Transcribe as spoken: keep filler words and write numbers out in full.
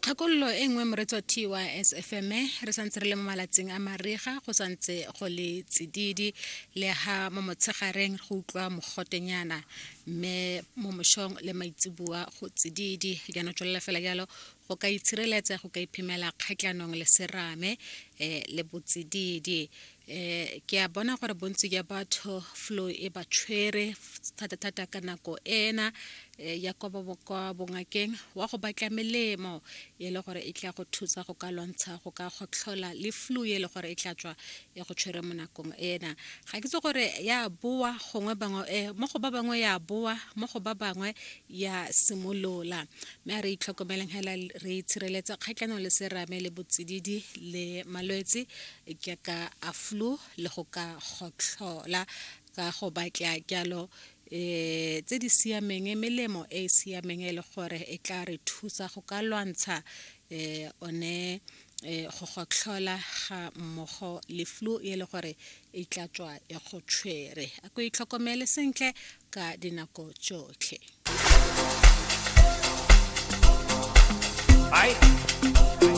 Kgakololo e nngwe, moreetsi wa T Y S F M, re santse re le mo malatsing a mariga, go santse go le tsididi le ha mo motshegareng go utlwa mogotenyana, mme mo mošong le maitseboa go tsididi. Jaanong tswelela fela jalo go ka itshireletsa, go ka iphemela kgatlhanong le serame um le botsididi. um ke a bona gore bontsi jwa batho flu e ba tshwere thata-thata ka nako ena ya kwa kwa bongakeng wa go batla melemo e le gore e tla go thusa go ka lwantsha go ka gotlhola le flu e le gore e tla tswa e go tshwere mo nakong ena. Ga ke itse gore ya boa gongwe bangwe, mo go ba bangwe ya boa, mo go ba bangwe ya simolola, mme a re itlhokomeleng hela, re itshireletsa kgatlhanong le serame le botsididi le malwetse jaaka a flu le go ka gotlhola, ka go batla jalo eh tse di siameng, melemo e e siameng e le gore e tla re thusa go ka lwantsha eh one eh go gotlhola ga mmogo le flu e le gore e tla tswa e go tshwere. A ko itlhokomele sentle ka dinako tsotlhe.